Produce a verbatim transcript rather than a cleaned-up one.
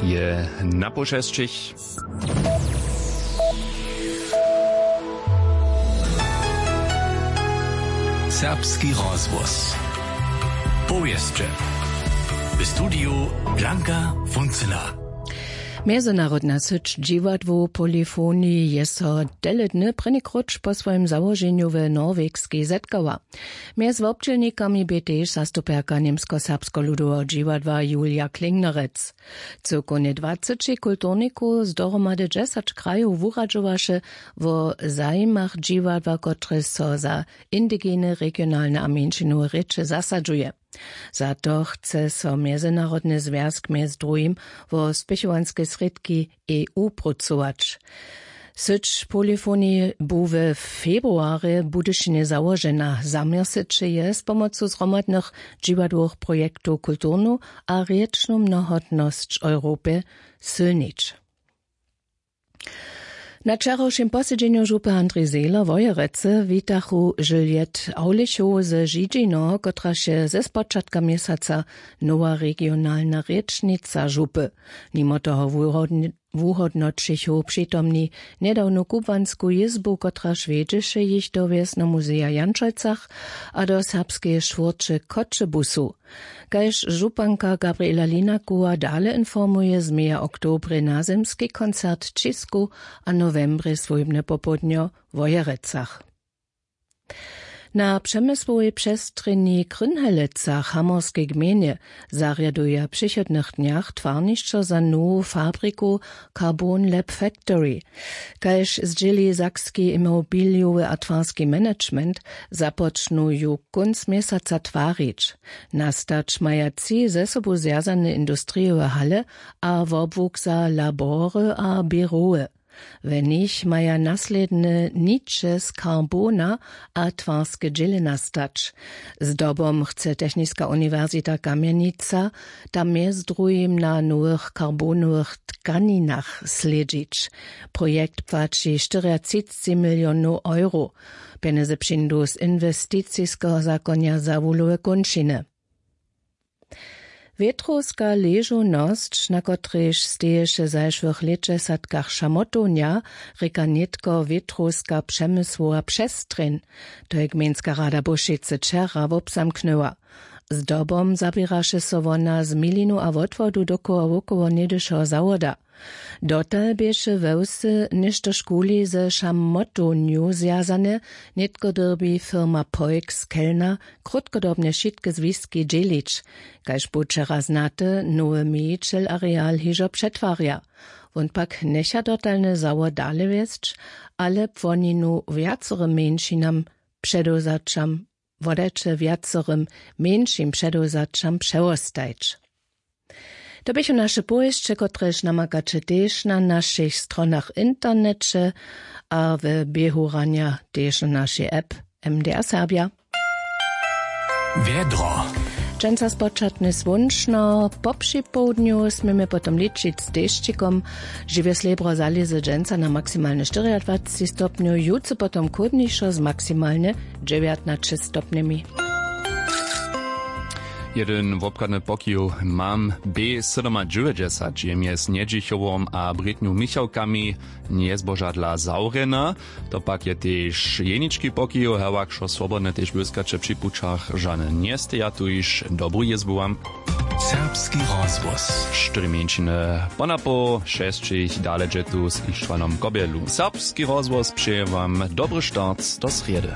Je na poł šesćich. Serbski rozhłos. Powěsće. W studiju Blanka Funcyna. Mjezynarodna syć dźiwadłow Polyphony je so tele dny prěni króć po swojim załoženju w Norwegskej zetkała. Mjez wobdźělnikami bě tež zastupjerka Němskoserbskeho ludoweho dźiwadła Julia Klingnerec. Cyłkownje dwaceći kulturnikow z dohromady dźesać krajow wuradźowaše wo zajimach dźiwadła, kotrež so za indigene, regionalne a mjeńšinowe rěče zasadźuje. Za to chce so Mjezynarodny zwjazk mjez druhim wo spěchowanske srědki E U prócować. Syć Polyphony bu we februarje w Budyšinje załožena. Zaměr syće je z pomocu zhromadnych dźiwadłowych projektow kulturnu a rěčnu mnohotnosć Europje sylnić. Na wčerawšim posedźenju župy Andrej Zehler Wojerecy witachu Juliette Aulichow ze Židźinoho, kotraž je ze spočatka měsaca nowa regionalna rěčnica župy. Nimo toho wuhódn-, wuhódnoćichu přitomni njedawnu kubłansku jězbu, kotraž wjedźeše jich do wjesneho muzeja w Jančojcach a do serbskeje štwórće Choćebuzu. Kaž županka Gabriela Linakowa dale informuje, změja w oktobrje nazymski koncert w Ćisku a nowembrje swójbne popołdnjo w Wojerecach. Na přemysłowej přestrzeni w Krynhelecach w hamorskej gmejnje zarjaduja w přichodnych dnjach twarnišćo za nowu fabriku Carbon Lab Factory. Kaž zdźěli sakski imobilijowy a twarski management, započnu ju kónc měsaca twarić. Nastać maja tři ze sobu zwjazane industrijowe hale a wobłuk za labory a běrowy. We nich maja naslědne niće z karbona a twarske dźěle nastać. Zdobom chce Techniska uniwersita Kamjenica tam mjez druhim na nowych karbonowych tkaninach slědźić. Projekt płaći štyriatřicci milionow euro. Pjenjezy přińdu z inwesticiskeho zakonja za wuhlowe kónčiny. Wětrowska ležownosć, na kotrejž steješe w zašłych lětdźesatkach šamotownja, rěka nětko wětrowska přemysłowa přestrjeń. To je gmejnska rada Bušecy wčera wobzamknyła. Zdobom zaběraše so wona z milinu a wotwodu dokoła wokoło něhdyšeho zawoda. Dotal běše we wsy něštožkuli ze šamotownju zwjazane. Nětko dyrbi firma Poik z Kelna krótkodobnje wšitke zwiski dźělić. Kaž bu wčera znate, nowy mějićel areal hižo přetwarja. Wón pak njecha dotalny zawod dale wjesć, ale płoninu wjacorym mjeńšinam předewzaćam wodajće wjacorym mjeńšim předewzaćam přewostajć. To běchu naše powěsće, kotrež namakaće tež na našich stronach w interneće a w běhu ranja tež na našej app M D R Serbja. Wjedro. Dźensa spočatnje słónčno, po připołdnju směmy potom ličić z dešćikom. Žiwje slěbro zalězy dźensa na maksimalnje štyriadwaceći stopnjow, jutře potom chłódnišo z maksimalnje dźewjatnaće stopnjemi. Jedyn wobchadny pokiw mam B sydomadźewjećdźesat je mjez Njedźichowom a Brětnju Michałkami njezbožadla zawrjena. To pak je tež jenički pokiw, hewak wšo swobodne tež błyskaće při pućach žane njesteja, tuž dobru jězbu wam. Serbski rozhłos. Štyri mjeńšiny ponapoł šesćich dale dźe tu z Ištwanom Kobjelu. Serbski rozhłos přeje wam dobry start do srjedy.